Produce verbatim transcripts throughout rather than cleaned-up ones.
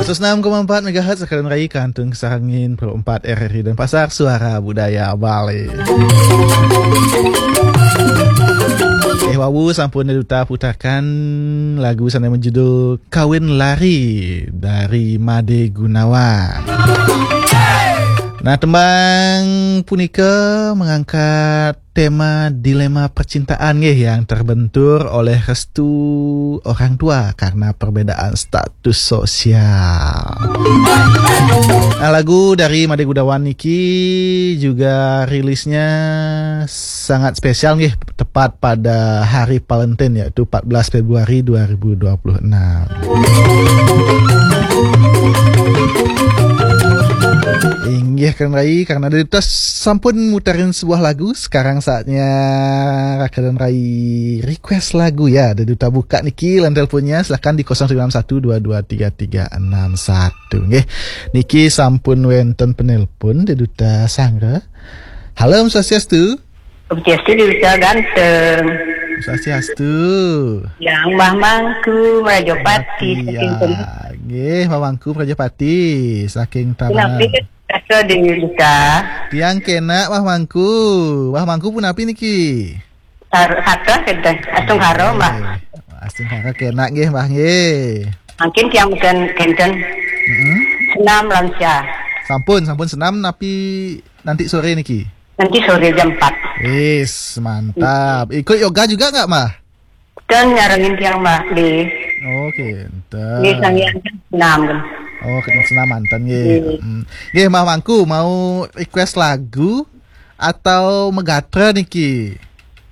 Seratus enam koma empat megahertz, Raka dan Rai, Kantung Sarangin, Pro empat R R I Denpasar, Suara Budaya Bali. Eh, wau sampun Duta putarkan lagu sane berjudul Kawin Lari dari Made Gunawan. Nah, tembang punika mengangkat tema dilema percintaan nggih yang terbentur oleh restu orang tua karena perbedaan status sosial. Nah, lagu dari Made Gunawan niki juga rilisnya sangat spesial nggih, tepat pada hari Valentine, yaitu empat belas Februari dua ribu dua puluh enam. Inggih, Kang Rai, karena Duta sampun muterin sebuah lagu, sekarang saatnya Raka dan Rai request lagu ya. Ada Duta buka niki line teleponnya, silakan di kosong sembilan satu dua dua tiga tiga enam satu nggih. Niki sampun wenten penelpon, ada Duta sangga. Halo, Om Swastiastu. Om Swastiastu, Duta ganteng. Om Swastiastu. Yang Mbah Mangku Merajapati, Tapi saking ya, Temu. Nggih, Mbah Mangku Merajapati saking Tabanan. Kenapa kata di Duta? Tiang kena, Mbah Mangku. Mbah Mangku punapi niki? Sar-, sarta kenten. Astung haro, Mbah. Nggih. Astung haro kena nggih, Mbah nggih. Mungkin tiang mungkin kenten. Mm-mm. Senam lansia. Sampun, sampun senam napi nanti sore niki? Nanti sore jam empat. Wis, mantap. Ikut yoga juga nggak, Mbah? Kan nyarengin tiang, Mbah, di. Oke, enten. Di Sang Hyang senam kan. Oh, kena senam manten nggih. Nggih. Hmm. Nggih, Mbah Mangku mau request lagu atau megatra niki?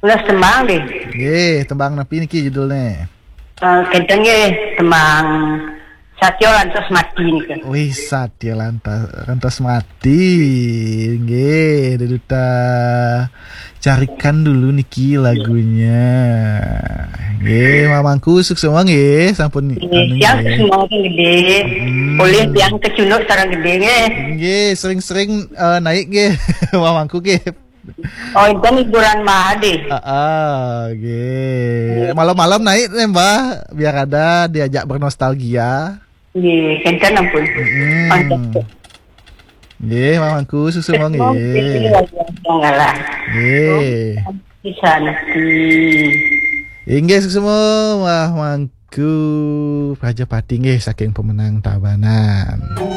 Ulah tembang deh. Nggih, tembang napi niki judulnya? Eh, kenten nggih, tembang Satya Lantas Mati nika. Wih, Satya Lantas, Lantas Mati. Nggih, Duta carikan dulu niki lagunya. Nggih, Mbah Mangku suksma nggih, sampun. Nggih, anu tiang nggih. Suksma gede. Hmm. Oleh tiang kecunduk sareng gede nggih. Nggih, sering-sering, eh, naik nggih, Mbah Mangku nggih. Oh, itu hiburan Mbah Ade. Heeh, nggih. Nggih. Malam-malam naik nih, Mbah, biar ada diajak bernostalgia. Nggih, kenten ampun. Mm-mm. Mantap. Nggih, Mbah Mangku suksma nggih. Nggih, luar biasa ngalah. Nggih. Bisa nanti. Inggih suksma Mbah Mangku Prajapati nggih saking Pemenang Tabanan.